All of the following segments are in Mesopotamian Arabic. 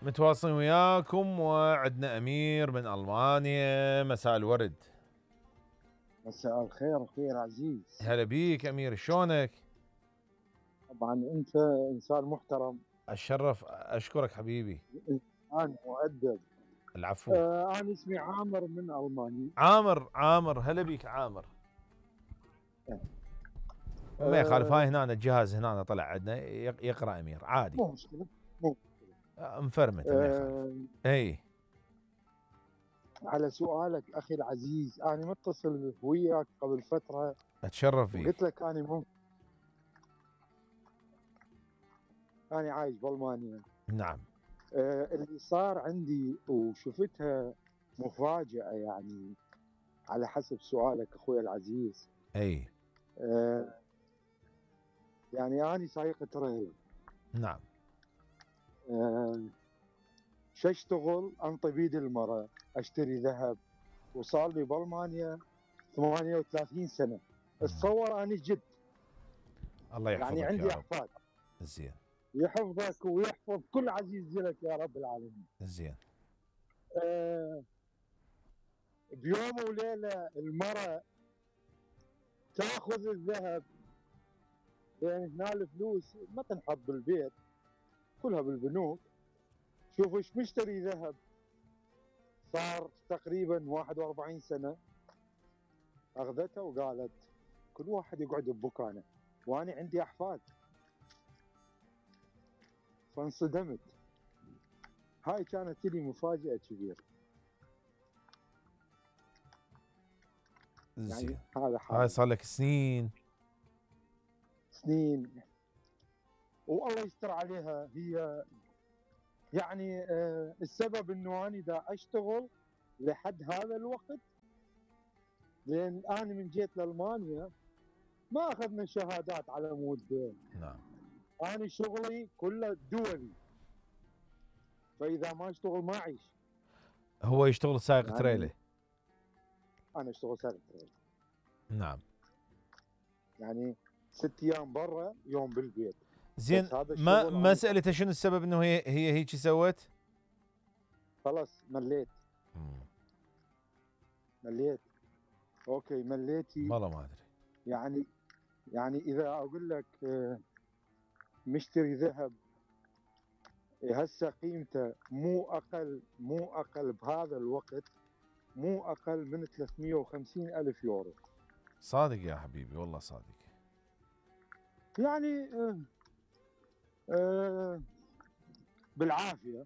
متواصلين وياكم وعندنا أمير من ألمانيا. مساء الورد. مساء الخير اخوي العزيز. هلا بيك أمير، شلونك؟ طبعا انت انسان محترم. الشرف، أشكرك حبيبي. انسان مؤدب. العفو. انا اسمي عامر من المانيا. عامر هلا بيك عامر. ما يخالف، هاي هنا الجهاز هنا طلع عندنا يقرأ أمير عادي. مو مشكلة مو مشكلة. مفرمت ما يخالف. اي على سؤالك اخي العزيز، انا متصل وياك قبل فترة اتشرف فيك. وقلت لك انا عايش بالمانيا. نعم. اللي صار عندي وشفتها مفاجأة، يعني على حسب سؤالك اخوي العزيز. اي يعني انا سايق تريل. نعم. شو اشتغل؟ انطي بيد المرأة، اشتري ذهب، وصار لي بالمانيا 38 سنة. اتصور اني جد. الله يحفظك يعني عندي يا رب. احفاد. زين. يحفظك ويحفظ كل عزيز لك يا رب العالمين. زين. بيوم وليلة المرأة تاخذ الذهب، لان هنا الفلوس ما تنحط بالبيت، كلها بالبنوك. شوف ايش مشتري ذهب، صار تقريبا 41 سنة. اخذته وقالت كل واحد يقعد بمكانه، وانا عندي احفاد. فانصدمت. هاي كانت لي مفاجأة كبيرة. زين. يعني هذا حال. هاي صار لك سنين. والله يستر عليها هي. يعني السبب انه انا دا اشتغل لحد هذا الوقت، لان انا من جيت لالمانيا ما اخذنا شهادات على مود. نعم. انا شغلي كله دولي، فاذا ما اشتغل ما اعيش. هو يشتغل سائق يعني تريلة. انا اشتغل سائق تريلة. نعم. يعني 6 ايام برا، يوم بالبيت. زين. ما سألته شنو السبب انه هي هيك سوت؟ خلاص مليت. اوكي مليتي. والله ما ادري. يعني اذا اقول لك مشتري ذهب هسه قيمته مو اقل بهذا الوقت، مو اقل من 350 الف يورو. صادق يا حبيبي، والله صادق. يعني بالعافيه.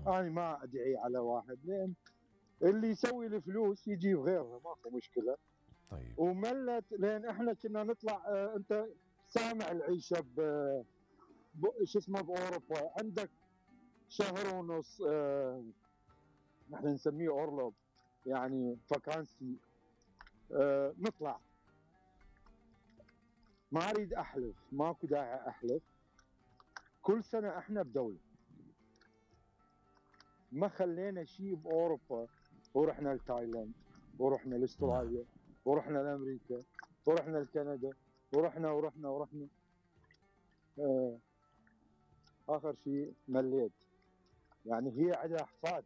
انا ما ادعي على واحد، لان اللي يسوي الفلوس يجيب غيرها، ماكو مشكله. طيب. وملت، لان احنا كنا نطلع. انت سامع العيشه شو اسمه باوروبا، عندك شهر ونص نحن نسميه اورلوب، يعني فاكانسي. نطلع. ما اريد احلف، ماكو داعي احلف. كل سنه احنا بدوله، ما خلينا شيء باوروبا. ورحنا لتايلاند، ورحنا لاستراليا، ورحنا لامريكا، ورحنا لكندا، ورحنا. اخر شيء مليت. يعني هي عندها احفاد،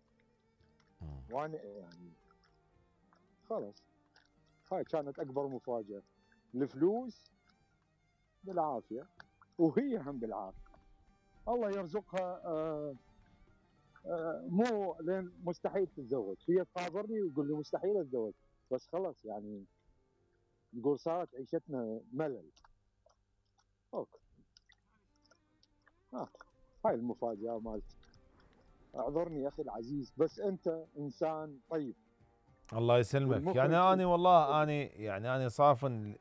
وانا يعني خلاص. هاي كانت اكبر مفاجاه. الفلوس بالعافيه، وهي هم بالعافيه. الله يرزقها. مو لين مستحيل تتزوج. هي تخابرني وتقول لي مستحيل اتزوج، بس خلاص يعني نقول صارت عيشتنا ملل. اوكي. هاي المفاجاه مالتي. اعذرني اخي العزيز، بس انت انسان طيب. الله يسلمك. يعني انا والله انا صافن.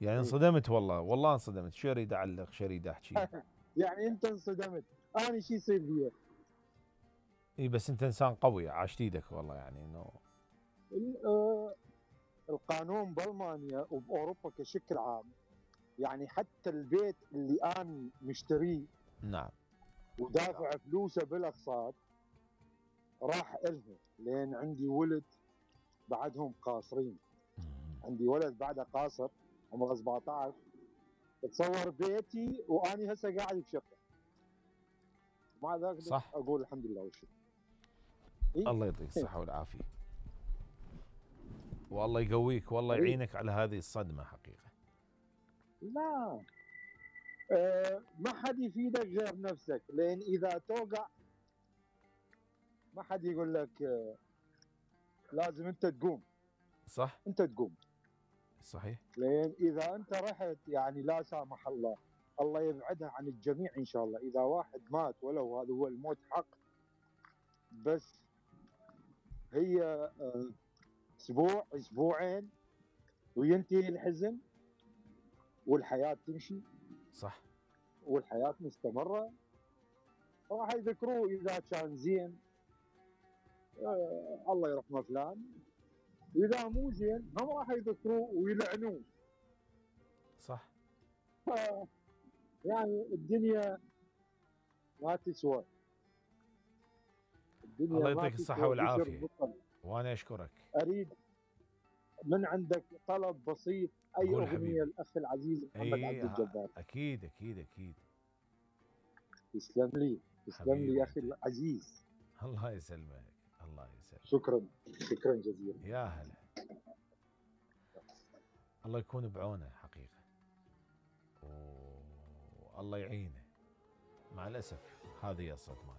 يعني انصدمت، والله انصدمت. شو اريد اعلق، شو اريد احكي. يعني انت انصدمت، انا شو يصير بي؟ اي بس انت انسان قوي، عاشت ايدك والله. يعني انه القانون بالمانيا وباوروبا كشكل عام، يعني حتى البيت اللي انا مشتريه نعم ودافع فلوسه بالاقساط راح الها، لان عندي ولد بعدهم قاصرين. عندي ولد بعده قاصر عمره 17. تصور بيتي واني هسه قاعد بشقه. مع ذلك صح. اقول الحمد لله والشكر. إيه؟ الله يعطيك الصحة والعافية، والله يقويك والله إيه؟ يعينك على هذه الصدمة حقيقة. لا ما حد يفيدك غير نفسك، لان اذا توقع ما حد يقول لك لازم انت تقوم. صح. انت تقوم، صحيح. لان اذا انت رحت يعني لا سامح الله، الله يبعدها عن الجميع ان شاء الله، اذا واحد مات ولو هذا هو الموت حق، بس هي اسبوع اسبوعين وينتهي الحزن والحياه تمشي. صح. والحياه مستمره. راح يذكروه اذا كان زين الله يرحمه فلان، واذا مو زين هم راح يذكروه ويلعنوه. صح. يعني الدنيا ما تسوى، الدنيا الله ما يعطيك الصحة تسوى بشر والعافية، بالطبع. وانا اشكرك. اريد من عندك طلب بسيط، اي قول اغنيه حبيبي. الاخ العزيز محمد عبد اي الجبار. اكيد اكيد اكيد. تسلم لي، تسلم لي حبيبي يا اخي انت. العزيز. الله يسلمك، الله يسلمك. شكرا، شكرا جزيلا. يا هلا. الله يكون بعونه حقيقة، والله يعينه. مع الأسف هذه الصدمات.